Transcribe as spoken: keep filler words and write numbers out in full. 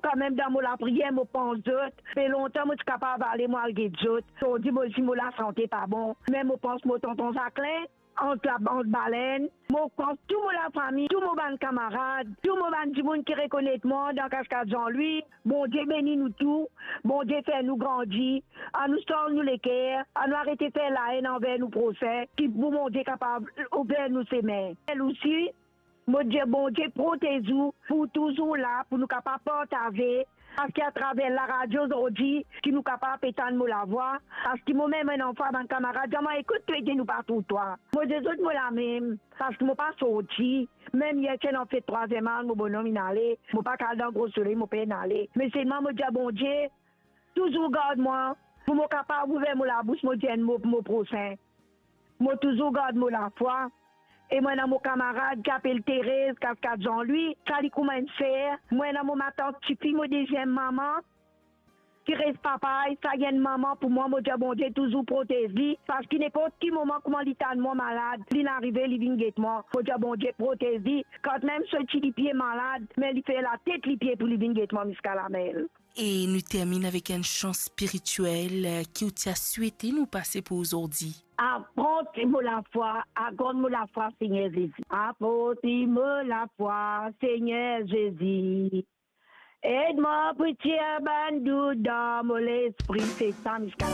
Kanmem dan mo lapriyer, mo pans zot. Pe lontan mo ti kapav ale, mo al get zot. Zordi mo, si mo lasante pa bon, me mo pans mo tonton Zaklin, ant la, ant Balenn, mo pans tou mo lafami, tou mo bann kamarad, tou mo bann dimoun ki rekonet mwa dan Kaskad Zanlwi. Bondie beni nou tou, Bondie fer nou grandi, anou sanz nou leker, anou arete fer laenn anver nou prosin, ki pou Bondie kapav ouver nou sime. El osi, mo dir Bondie protez ou, pou touzour la, pou nou kapav partaze, parski atraver laradio zordi, ki nou kapav pe tann mo lavwa, parski momem enn anfwa bann kamarad dir mwa, ekout, to ete nou pa trouv twa. Mo dir zot mo la mem, parski mo pa sorti, mem yer ti ena fet trwaziem az, mo bonom inn ale, mo pa kal dan gro soley, mo pena ale. Me selman mo dir Bondie, touzour gard mwa, pou mo kapav ouver mo labous, mo dir enn mo pou mo prosin. Mo touzour gard mo lafwa. E mo ena mo kamarad ki apel Terez, Kaskad Zanlwi, sa li kouma enn ser. Mo ena mo matant tifi, mo deziem mama, ki res Papay, sa li enn mama pou mwa. Mo dir Bondie touzour protez li, parski ninport ki moman kouma li tann mwa malad, linn arive, li vinn get mwa. Mo dir Bondie protez li, kanmem so ti lipie malad, me li fer latet lipie pou li vinn get mwa ziska lamel. E nou terminn avek enn san spiritiel, eh, ki ou ti a swete nou pase pou ozordi. Aprann mo lafwa, agrand mo lafwa, Segner Zezi. Aprann mo lafwa, Segner Zezi. Ed mwa pou tir bann dout dan mo lespri, se sa ziska la.